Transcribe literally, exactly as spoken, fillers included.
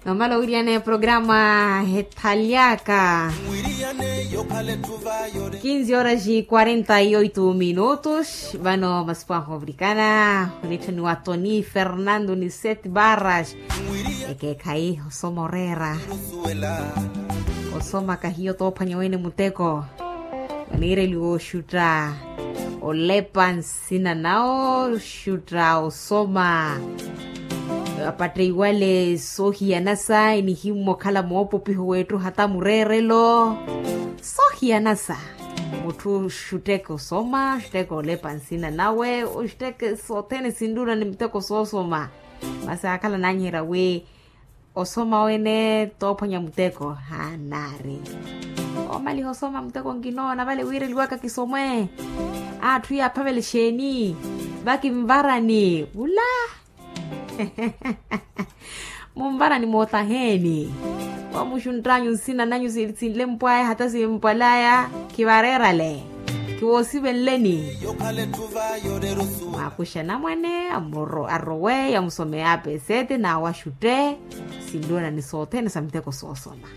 Nomala owiriyana eprograma hethalyaka. Kinzi horas e quarenta e oito minutos vano masipu ahovirikana. Onitthaniwa toni fernando ni sete barras. Ekeekhayi osoma oreera. Osoma kahiyo toophwanya wene muteko. Oniireliwa oxutta olepa nsina nawo oxutta osoma. Apatteiwale soohiyanasa enihimmwa okhala moopopiho weettu hata mureerelo. Soohiyanasa mutthu oxutteke osoma oxutteke olepa nsina nawe oxutteke sothene sinttuna ni muteko soosoma. Masi akhala naanyiherya wi osoma wene toophwanya muteko hanaari. Omaliha osoma muteko nkinoona vale wiireliwaka kisomwe. Atthu yaaphavela exeeni vakinvarani vula. Munvarani mootaheeni. Wamuxunttanyu nsina nanyu sinlempwaya hata simpwalaya. Khivareerale. Khiwoosivenleni. Mwakuxa namwane arowe yamusomeye apesete nawe axutte. Sinlonani sothene sa miteko soosoma.